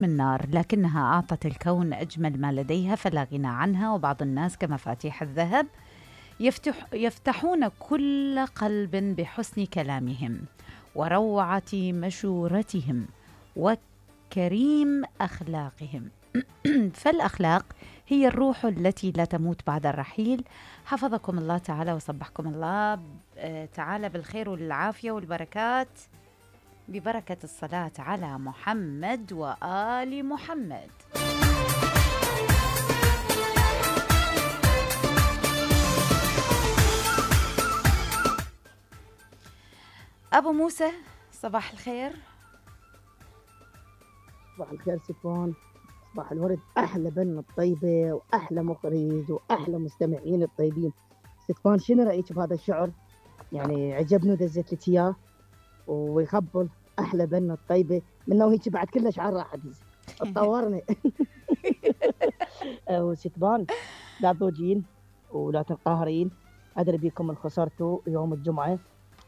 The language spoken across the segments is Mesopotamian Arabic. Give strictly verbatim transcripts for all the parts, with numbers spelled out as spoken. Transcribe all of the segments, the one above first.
من نار، لكنها أعطت الكون أجمل ما لديها فلا غنى عنها. وبعض الناس كمفاتيح الذهب يفتح يفتحون كل قلب بحسن كلامهم وروعة مشورتهم وكريم أخلاقهم. فالأخلاق هي الروح التي لا تموت بعد الرحيل. حفظكم الله تعالى وصبحكم الله تعالى بالخير والعافية والبركات ببركة الصلاة على محمد وآل محمد. أبو موسى صباح الخير. صباح الخير سفوان، صباح الورد، أحلى بنت الطيبة وأحلى مخرج وأحلى مستمعين الطيبين. سفوان شنو رأيك بهذا الشعر؟ يعني عجبني ودزيت لك إياه ويخبل أحلى بنت الطيبة منه وهيك بعد كل شعر راح أدز تطورني. وستبان لا تضوجين ولا تنقهرين، أدري بيكم من خسرتوا يوم الجمعة،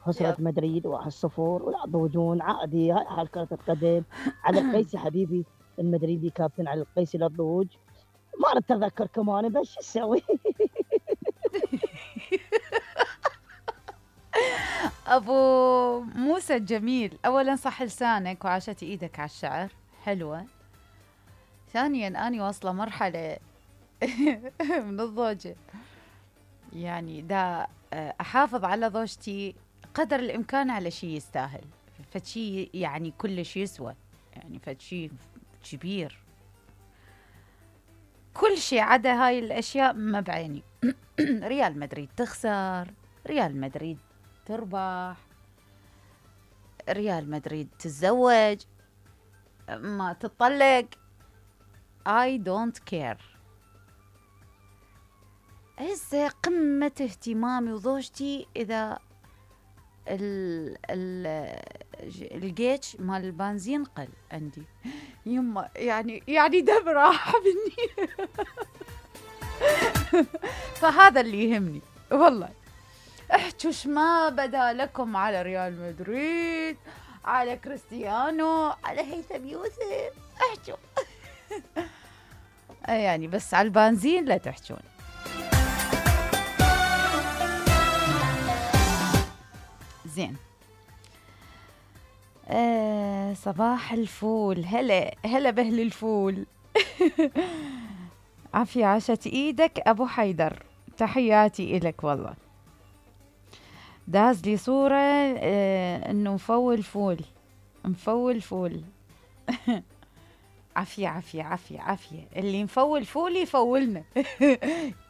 خسرت مدريد واحد صفر ولا تضوجون عادي. هاي حال كرة القدم. على القيسي حبيبي المدريدي كابتن على القيسي لا تضوج، ما نتذكر كمان بس شو اسوي. أبو موسى الجميل، أولا صح لسانك وعاشت إيدك على الشعر حلوة. ثانيا أنا واصلة مرحلة من الضوجة، يعني دا أحافظ على ضوجتي قدر الإمكان على شيء يستاهل، فشي يعني كل شيء يسوى، يعني فشي كبير، كل شيء عدا هاي الأشياء ما بعيني. ريال مدريد تخسر، ريال مدريد تربح، ريال مدريد تتزوج، ما تطلق، I don't care. هسه قمة اهتمامي وضوجتي إذا ال ال الجيتش مال البنزين قل عندي، يما يعني يعني دم راح مني. فهذا اللي يهمني والله. احجوش ما بدا لكم على ريال مدريد، على كريستيانو، على هيثم يوسف، احجوا. يعني بس على البنزين لا تحجون. زين. آه صباح الفول، هلا هلا بهل الفول. عافية عاشت ايدك ابو حيدر، تحياتي إلك والله. داز لي صورة آه انه مفول فول، مفول فول. عافية عافية عافية عافية، اللي مفول فول يفولنا.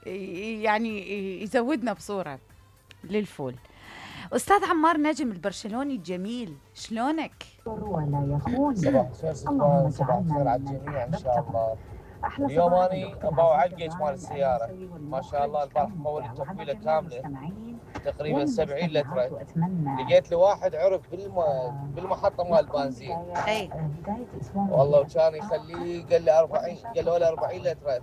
يعني يزودنا بصورة للفول. أستاذ عمار نجم البرشلوني الجميل، شلونك؟ ولا يخون. صباح الخير سلطان، صباح الخير على الجميع إن شاء الله. اليوم أني أبغى أعلقج مال السيارة، ما شاء الله البارح طولت تفويلة كاملة تقريبا سبعين لتر. لقيت لي واحد عرف بالم... بالمحطة مال البنزين، أي والله وكان يخليه، قال لي أربعين، قال له ولا أربعين لتر.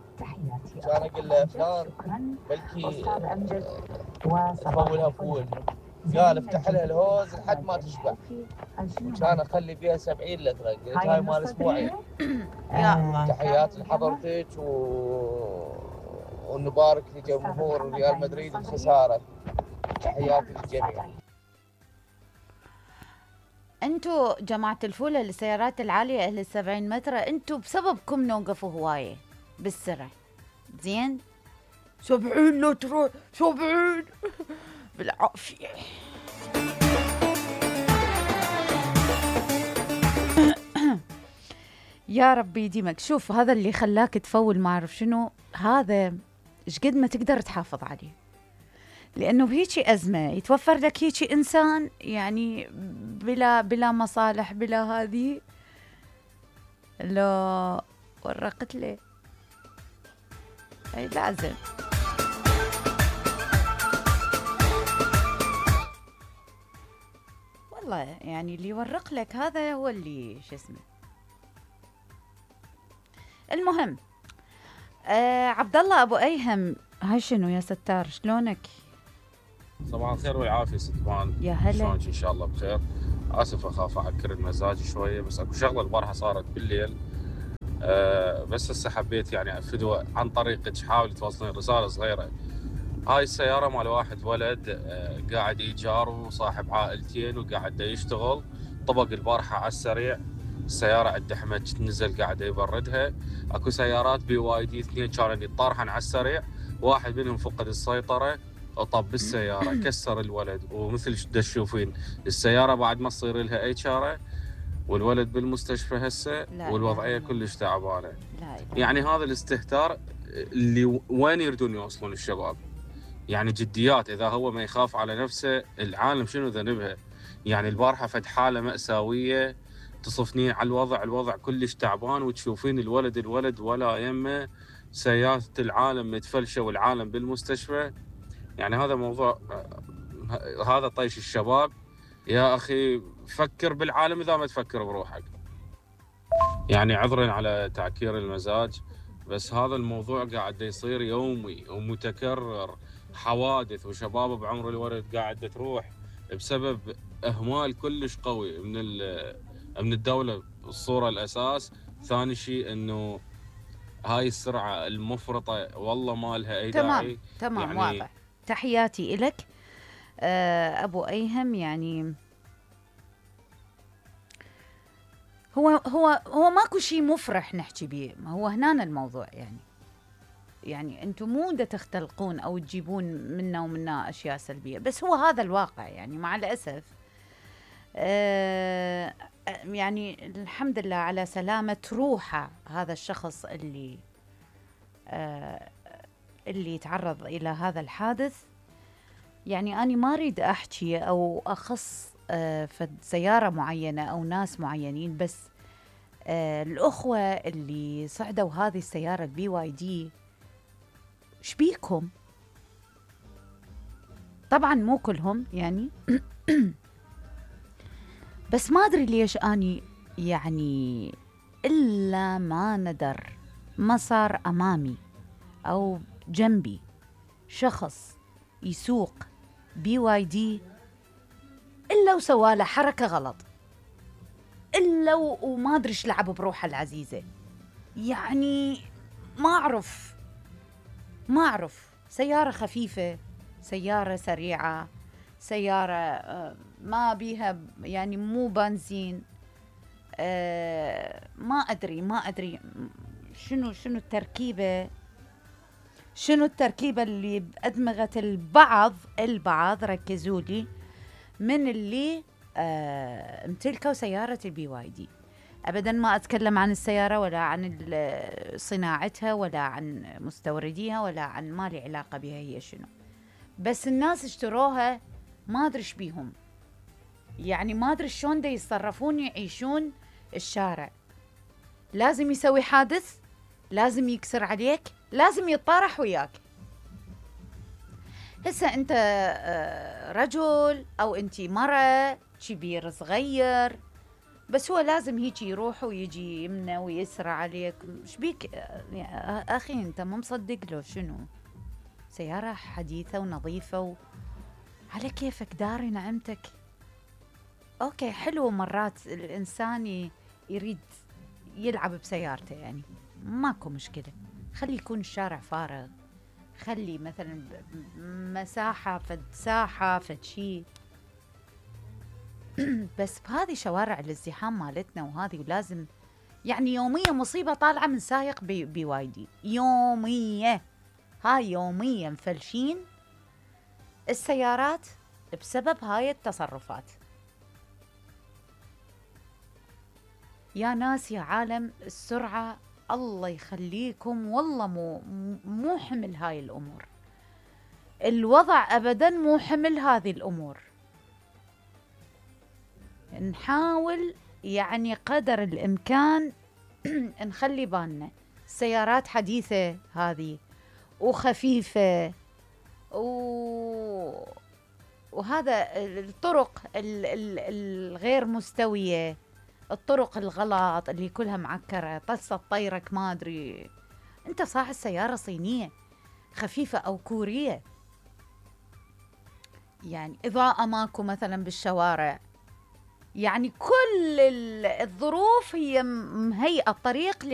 كان أقول له فلان بلكي تفولها فول، قال افتح لها الهوز لحد ما تشبع، وكان اخلي فيها سبعين لتر. قلت هاي مال اسبوعين. يا الله. تحياتي لحضرتك و... ونبارك لجمهور ريال مدريد الخساره. تحياتي للجميع. انتو جماعة الفولة للسيارات العالية اهل السبعين متر، انتو بسببكم نوقفوا هواية بالسرعة. زين سبعين لتر، سبعين بالعافية. يا ربي يديمك. شوف هذا اللي خلاك تفول ما أعرف شنو، هذا إيش قد ما تقدر تحافظ عليه، لأنه بهيجي أزمة يتوفر لك هيجي إنسان يعني بلا بلا مصالح بلا هذه، لا ورقت لي أي لازم. والله يعني اللي يورق لك هذا هو اللي شو اسمه. المهم آه عبد الله ابو ايهم، هاي شنو يا ستار شلونك؟ صباح الخير والعافيه ستبان، يا هلا. شلونك؟ ان شاء الله بخير. اسف اخاف اعكر المزاج شويه، بس اكو شغله البارحه صارت بالليل أه بس هسه حبيت يعني افدوه عن طريقك، حاولي توصلين رساله صغيره. هاي السياره مال واحد ولد أه قاعد ايجار وصاحب عائلتين وقاعد يشتغل، طبق البارحه على السريع، السياره عند احمد نزل قاعد يبردها. اكو سيارات بي واي دي اثنين كانوا يطارحن على السريع، واحد منهم فقد السيطره وطب بالسياره كسر الولد. ومثل شو تشوفين السياره بعد ما تصير لها اي شاره، والولد بالمستشفى هسه والوضعيه كلش تعبانه. يعني هذا الاستهتار اللي وين يردون يوصلون الشباب؟ يعني جديات، اذا هو ما يخاف على نفسه العالم شنو ذنبها؟ يعني البارحه فد حاله ماساويه تصفنين على الوضع، الوضع كلش تعبان، وتشوفين الولد الولد ولا يمه، سيارة العالم متفلشه والعالم بالمستشفى. يعني هذا موضوع، هذا طيش الشباب. يا اخي فكر بالعالم اذا ما تفكر بروحك. يعني عذرا على تعكير المزاج، بس هذا الموضوع قاعد يصير يومي ومتكرر، حوادث وشباب بعمر الولد قاعده تروح بسبب اهمال كلش قوي من من الدوله. الصوره الاساس. ثاني شيء انه هاي السرعه المفرطه والله ما لها اي تمام داعي. تمام يعني واضح. تحياتي إلك أبو أيهم. يعني هو هو هو ماكو شيء مفرح نحكي بيه، هو هنا الموضوع. يعني يعني انتم مو دا تختلقون او تجيبون منا ومنا اشياء سلبيه، بس هو هذا الواقع. يعني مع الاسف آه يعني الحمد لله على سلامه روحه هذا الشخص اللي آه اللي تعرض الى هذا الحادث. يعني أنا ما أريد أحكي أو أخص آه في سيارة معينة أو ناس معينين، بس آه الأخوة اللي صعدوا هذه السيارة البي واي دي شبيكم؟ طبعا مو كلهم يعني بس ما أدري ليش أني يعني إلا ما ندر ما صار أمامي أو جنبي شخص يسوق بي واي دي إلا وسواله حركة غلط، إلا وما أدري إيش لعب بروحه العزيزة. يعني ما أعرف ما أعرف سيارة خفيفة، سيارة سريعة، سيارة ما بيها يعني مو بنزين، ما أدري ما أدري شنو شنو التركيبة شنو التركيبة اللي بأدمغة البعض البعض ركزوا لي من اللي آه امتلكوا سيارة البي واي دي. أبدا ما أتكلم عن السيارة ولا عن صناعتها ولا عن مستورديها ولا عن ما لي علاقة بها هي شنو، بس الناس اشتروها ما أدري بيهم. يعني ما أدري شلون دا يتصرفون يعيشون الشارع. لازم يسوي حادث، لازم يكسر عليك، لازم يتطارح وياك. هسه انت رجل او انتي مرة كبير صغير، بس هو لازم هيك يروح ويجي يمنى ويسرع عليك. شبيك اخي انت مو مصدق له شنو؟ سيارة حديثة ونظيفة و... على كيفك داري نعمتك. اوكي حلو مرات الانسان يريد يلعب بسيارته، يعني ماكو مشكلة، خلي يكون الشارع فارغ، خلي مثلا مساحة فد ساحة فد شي بس بهذه شوارع الازدحام مالتنا وهذه، ولازم يعني يوميا مصيبة طالعة من سايق بي, بي واي دي، يومية هاي يوميا مفلشين السيارات بسبب هاي التصرفات. يا ناس يا عالم السرعة الله يخليكم، والله مو مو حمل هاي الأمور، الوضع أبدا مو حمل هذه الأمور. نحاول يعني قدر الإمكان نخلي بالنا. السيارات حديثة هذه وخفيفة و... وهذا الطرق الغير مستوية، الطرق الغلط اللي كلها معكرة، طست طيرك ما أدري. أنت صاحب السيارة صينية خفيفة أو كورية، يعني إضاءة ماكو مثلا بالشوارع، يعني كل الظروف هي مهيئة الطريق